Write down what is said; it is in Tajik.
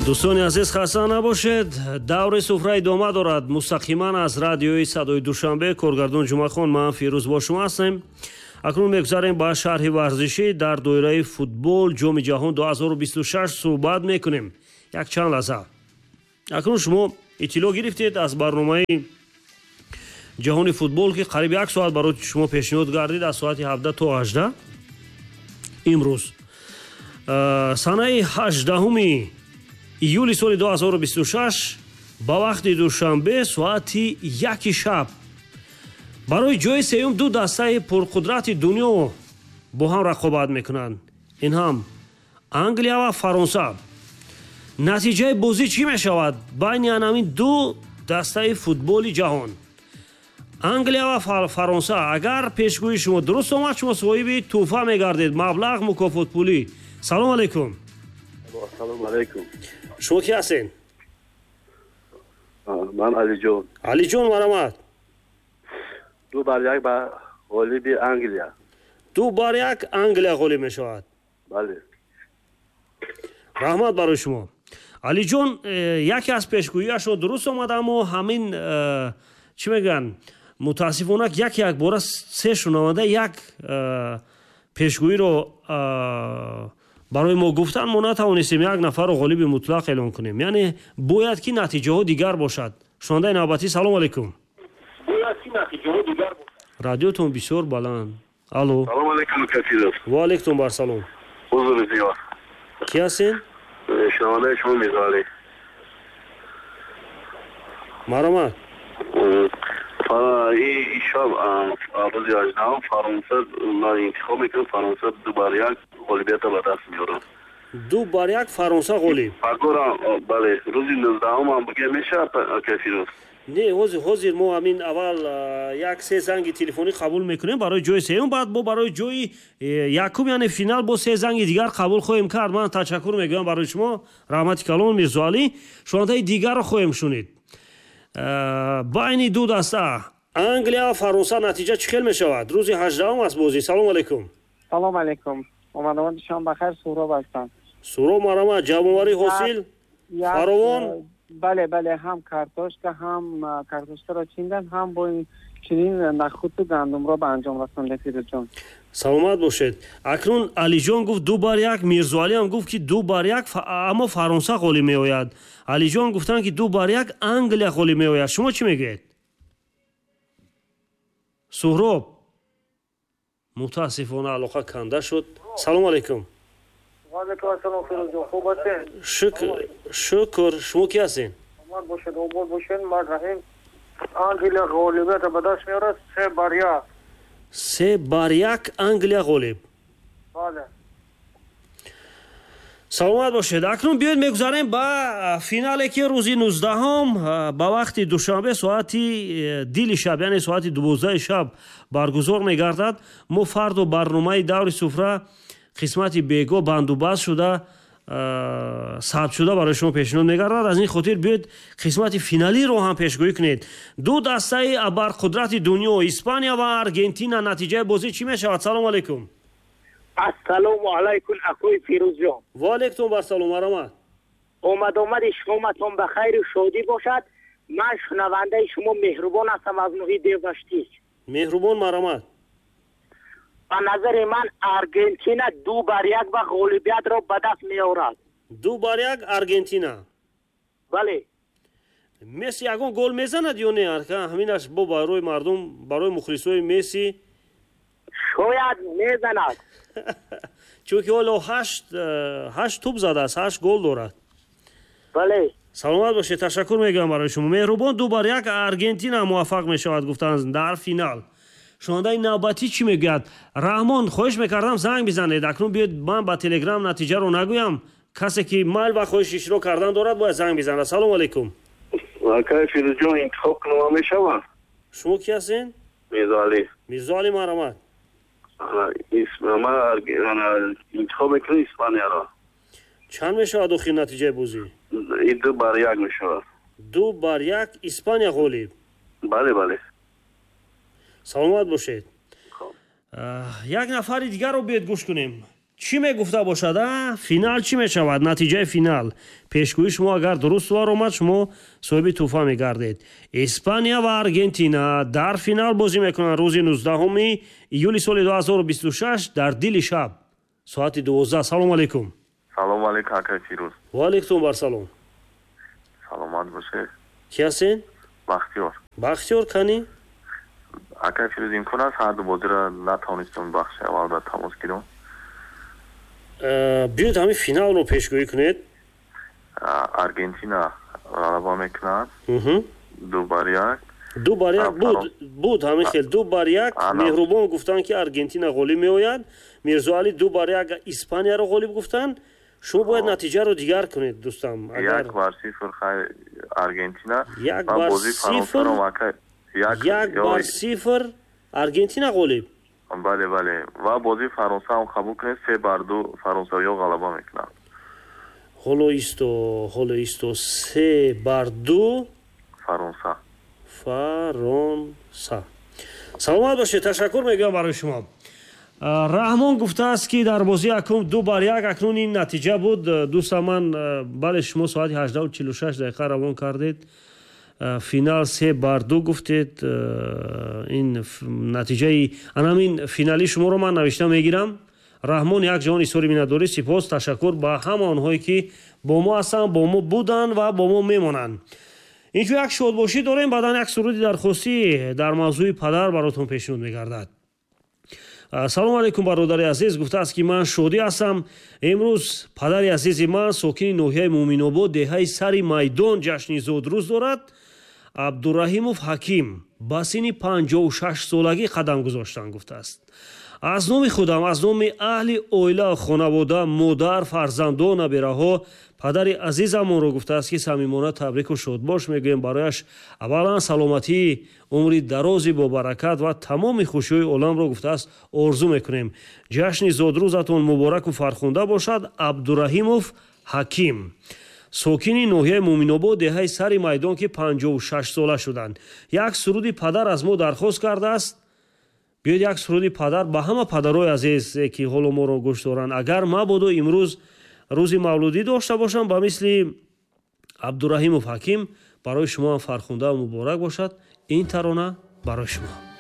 Дӯстони азиз, хаста набошед. Даври суфра идома дорад. Мустақиман аз радиои Садои Душанбе, коргардон Ҷумъахон, ман Фирӯз бо шумо ҳастем. Акнун мегузарем ба шарҳи варзишӣ. Дар доираи футбол Ҷоми ҷаҳон 2026 суҳбат мекунем якчанд лаҳза. Акнун шумо иттилоъ гирифтед аз барномаи ҷаҳони футбол, ки қариб як соат барои шумо пешниҳод гардид, аз соати 17 то 18 имрӯз, санаи 18 июли соли 2026, ба вақти Душанбе соати 1 шаб барои ҷои сеюм ду дастаи пурқудрати дунё бо ҳам рақобат мекунанд. Ин ҳам Англия ва Фаронса. Натиҷаи бозӣ чӣ мешавад байни анамин ду дастаи футболи ҷаҳон, Англия ва Фаронса? Агар пешгӯии шумо дуруст омад, шумо соҳиби тӯҳфа мегардед, маблағ мукофотпулӣ. Салом алейкум. Ассалому алайкум. Шумо ки ҳастед? Ман Алиҷон. Алиҷон, марҳамат. 2-1 ба ғолиби Англия. 2-1 Англия ғолиб мешавад. Бале. Раҳмат барои шумо, Алиҷон. Яке аз пешгӯиашро дуруст омад, аммо ҳамин чӣ мегӯянд, мутаассифона, яке якбора се шунаванда як пешгӯиро барои мо гуфтанд, мо натавонистем як нафарро ғолиби мутлақ эълон кунем. Яъне бояд ки натиҷаҳо дигар бошад. Шунавандаи навбатӣ, салом алейкум. Радиотон бисёр баланд. Алло. Салом алейкум, Кафиров. Ва алейкум барсалом. Ҳузур зиёд. Ки ҳастен? Шунавандаи шумо Мирзоалӣ. Марҳамат. Шаб, рӯзи 18-ум, Фаронса ман интихоб мекунам. Фаронса 2-1 ғолибията ба даст меорад. 2-1 Фаронса ғолиб. Пагорам, бале, рӯзи 19-ум ҳам бигӯя мешавад, Кафиров? Не, ҳозир мо ҳамин аввал як се занги телефонӣ қабул мекунем барои ҷои сеюм, баъд бо барои ҷои якум, яъне финал, бо се занги дигар қабул хоҳем кард. Ман ташаккур мегӯям барои шумо, раҳмати калон, Мирзоалӣ. Шунавандаи дигарро хоҳем шунид. Байни ду даста, Англия ва Фаронса, натиҷа чӣ хел мешавад? Рӯзи 18-ум аст бозӣ. Салому алайкум. Салом алейкум, омадомади шумо бахайр. Суҳроб ҳастам. Суҳроб, марҳамат. Ҷамъоварӣ, ҳосил фаровон? Бале, ҳам картошка, ҳам картошкаро чиндан, ҳам бо чунин нахӯду гандумро ба анҷом расондем, Фирӯзҷон. Саломат бошед. Акнун Алиҷон гуфт 2-1, Мирзоалиам гуфт, ки 2-1, аммо Фаронса ғолиб меояд. Алиҷон гуфтанд, ки 2-1 Англия ғолиб меояд. Шумо чӣ мегӯед, Суҳроб? Мутаассифона, алоқа канда шуд. Салому алайкум. Ваалайкум ассалом, Фирӯзҷон, хуб ҳастед? Шукр, шукр. Шумо ки ҳастед? Саломат бошед, обод бошед. Ман Раҳим. Англия ғолибията ба даст меорад 3-1. 3-1 Англия ғолиб. Бале. Саломат бошед. Акнун биёед мегузарем ба финале, ки рӯзи 19-ум ба вақти Душанбе соати дили шаб, яъне соати 12 шаб баргузор мегардад. Мо фардо барномаи даври суфра қисмати бего бандубаст шуда, сабт шуда барои шумо пешниҳод мегардад. Аз ин хотир биёед қисмати финалиро ҳам пешгӯӣ кунед. Ду дастаи абарқудрати дунё, Испания ва Аргентина, натиҷаи бозӣ чӣ мешавад? Салому алайкум. Ассалому алайкум, акои Фирӯзҷон. Ва алайкум барсалом, марҳамат. Омадомади шоматон ба хайру шодӣ бошад. Ман шунавандаи шумо Меҳрубон ҳастам аз ноҳияи Деваштич. Меҳрубон, марҳамат. Ба назари ман, Аргентина 2-1 ва ғолибиятро ба даст меорад. 2-1 Аргентина. Бале. Месси ягон гол мезанад ё не? Ҳаминаш бо барои мардум, барои мухлисои Месси. Шояд мезанад. Чунки ҳоло ҳашт тӯб задааст, ҳашт гол дорад. Бале. Саломат бошед, ташаккур мегӯям барои шумо, Меҳрубон. 2-1 Аргентина муваффақ мешавад, гуфтанд, дар финал. Шунавандаи навбатӣ чӣ мегӯяд? Раҳмон, хоҳиш мекардам, занг бизанед. Акнун биёед, ман ба Телеграм натиҷаро нагӯям. Касе ки майл ва хоҳиши иштирок кардан дорад, бояд занг бизанад. Салому алайкум. Акай Фирӯзҷон, интихоб кунам мешавад? Шумо ки ҳастед? Мирзоалӣ. Мирзоалӣ, марҳамат. Ман интихоб мекунам Испанияро. Чанд мешавад охир натиҷаи бозӣ? 2-1 мешавад. 2-1, Испания ғолиб. Бале. Саломат бошед. Як нафари дигарро биёед гӯш кунем. Чӣ мегуфта бошад, а? Финал чӣ мешавад? Натиҷаи финал. Пешгӯии шумо агар дуруст баромад, шумо соҳиби тӯҳфа мегардед. Испания ва Аргентина дар финал бозӣ мекунанд рӯзи 19 июли соли 2026 дар дили шаб соати 12. Салом алейкум. Салом алейкум, акай Фирӯз. Ва алейкум бар салом. Саломат бошед. Ки ҳастед? Бахтиёр. Бахтиёр, кани? Акай Фирӯз, имкон аст ҳар ду бозиро натавонистам бахши аввал дар тамос гирам? Биёед ҳамин финалро пешгӯӣ кунед. Аргентина ғалаба мекунад 2-1. 2-1 буд ҳамин хел 2-1. Меҳрубон гуфтанд, ки Аргентина ғолиб меояд. Мирзоалӣ 2-1 Испанияро ғолиб гуфтанд. Шумо бояд натиҷаро дигар кунед, дӯстам. 1-0 Аргентина. 1-0. 1-0 Аргентина ғолиб. Бале, бале. Ва бозии Фаронса ҳам қабул кунед, 3-2 фаронсавиҳо ғалаба мекунанд. Ҳоло исто, ҳоло исто, 3-2 Фаронса. Фаронса. Саломат бошед, ташаккур мегӯям барои шумо. Раҳмон гуфтааст, ки дар бозии якум 2-1, акнун ин натиҷа буд. Дӯста ман, бале, шумо соати 18:46 дақиқа равон кардед. Финал 3-2 гуфтед. Ин натиҷаи анамин финали шуморо ман навишта мегирам. Раҳмон як ҷаҳон изҳори миннатдорӣ, сипос, ташаккур ба ҳама онҳое, ки бо мо ҳастанд, бо мо буданд ва бо мо мемонанд. Инҷо як шодбошӣ дорем, баъдан як суруди дархостӣ дар мавзӯи падар баротон пешниҳод мегардад. Салом алейкум, бародари азиз, гуфтааст, ки ман шодӣ ҳастам. Имрӯз падари азизи ман, сокини ноҳияи Муъминобод, деҳаи Сари Майдон, ҷашни зодрӯз дорад. Абдураҳимов Ҳаким ба синни 56 солагӣ қадам гузоштанд, гуфтааст. Аз номи худам, аз номи аҳли оила, хонавода, модар, фарзандон, набираҳо падари азизамонро, гуфтааст, ки самимона табрику шодбош мегӯем. Барояш аввалан саломатӣ, умри дарози бобаракат ва тамоми хушиҳои оламро, гуфтааст, орзу мекунем. Ҷашни зодрӯзатон мубораку фархунда бошад. Абдураҳимов Ҳаким, сокини ноҳияи Муъминобод, деҳаи Сари Майдон, ки 56 сола шуданд. Як суруди падар аз мо дархост кардааст. Биёед як суруди падар ба ҳама падарои азиз, ки ҳоло моро гӯш доранд. Агар мабодо имрӯз рӯзи мавлудӣ дошта бошам, ба мисли Абдураҳимов Ҳаким, барои шумо ҳам фархунда муборак бошад. Ин тарона барои шумо.